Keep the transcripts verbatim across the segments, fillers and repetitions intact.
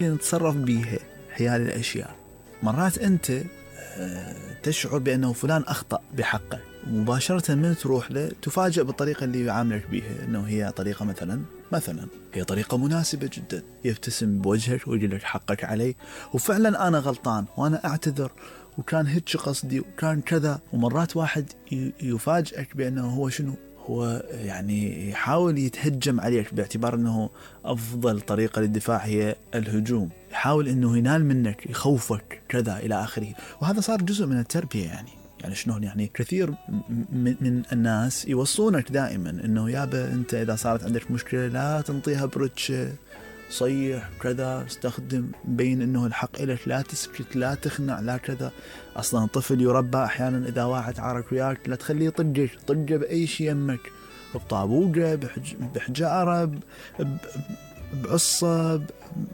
نتصرف بيها حيال الأشياء. مرات أنت تشعر بأنه فلان أخطأ بحقك، ومباشرة من تروح له تفاجأ بالطريقة اللي يعاملك بيها، أنه هي طريقة مثلا مثلا هي طريقة مناسبة جدا، يبتسم بوجهك ويقول لك حقك علي، وفعلا أنا غلطان وأنا أعتذر وكان هيك قصدي وكان كذا. ومرات واحد يفاجئك بأنه هو شنو، هو يعني يحاول يتهجم عليك باعتبار أنه أفضل طريقة للدفاع هي الهجوم، يحاول أنه ينال منك، يخوفك كذا إلى آخره. وهذا صار جزء من التربية. يعني يعني شنو يعني كثير من الناس يوصونك دائما أنه يابا أنت إذا صارت عندك مشكلة لا تنطيها برتشة، صيح كذا، استخدم بين أنه الحق إلك، لا تسكت، لا تخنع، لا كذا. أصلا الطفل يربى أحيانا إذا واحد عارك وياك لا تخليه يطقك، طقه بأي شيء يمك، بطابوقة، بحج... بحجارة، ب... بعصة،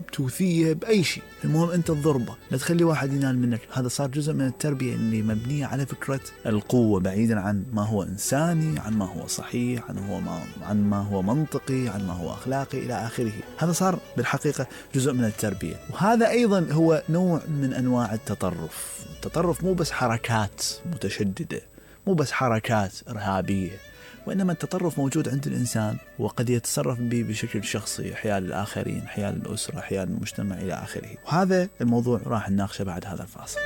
بتوثية، بأي شيء، المهم أنت الضربة، لا تخلي واحد ينال منك. هذا صار جزء من التربية اللي مبنية على فكرة القوة، بعيدا عن ما هو إنساني، عن ما هو صحيح، عن, هو ما... عن ما هو منطقي، عن ما هو أخلاقي إلى آخره. هذا صار بالحقيقة جزء من التربية. وهذا أيضا هو نوع من أنواع التطرف. التطرف مو بس حركات متشددة، مو بس حركات إرهابية، وإنما التطرف موجود عند الإنسان وقد يتصرف به بشكل شخصي حيال الآخرين، حيال الأسرة، حيال المجتمع إلى آخره. وهذا الموضوع راح نناقشه بعد هذا الفاصل.